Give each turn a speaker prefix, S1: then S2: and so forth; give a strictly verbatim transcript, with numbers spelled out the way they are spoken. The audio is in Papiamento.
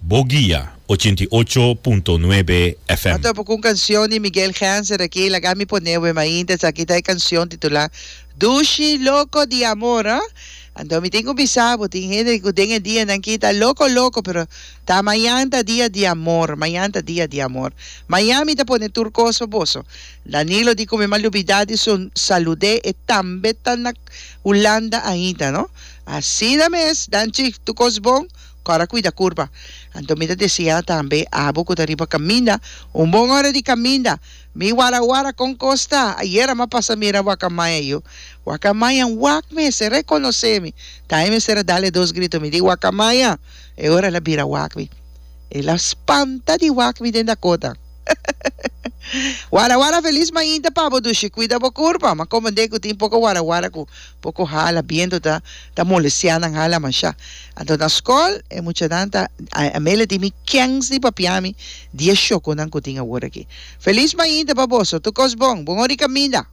S1: Bo Guia ochenta i ocho punto nuebe F M.
S2: M'a topa ku un kanshon di Miguel Genser aki, laga mi pone bo e mainta. Esaki ta e kanshon titulá Dushi Loko di Amor, ah. Anto mi tin ku bisa bo, tin hende ku den e dianan aki ta loko loko, pero ta mañan ta dia di amor, mañan ta dia di amor. Mañan mi ta pone tur kos pa boso. Danilo di ku mi m'a lubidá di su salud'é, e tambe ta na Hulanda ainda, no? Asina mes, danchi, tur kos bon, kòrda kuida kurpa. Anto mi ta deseá tambe abo ku ta riba kaminda, un bon ora di kaminda. Mi wara wara kon kos ta, ayera m'a pasa mira wakamaya yu. Wakamaya wak mester rekonosé mi. Ta e mester a dal e dos grito. Mi di wakamaya, e ora el a bira wak mi. El a spanta di wak mi den Dakota. Wara wara felis mainta pa bo dushi kuida bo kurpa. M'a komand'é ku tin poko wara wara ku poko hala bientu ta ta molestiá nan hala mashá. Anto na skol e muchanan ta Amelia di mi kens di papia mi di e shokonan ku tin awor aki. Felis mainta pa boso. Tur kos bon. Bon ora di kaminda.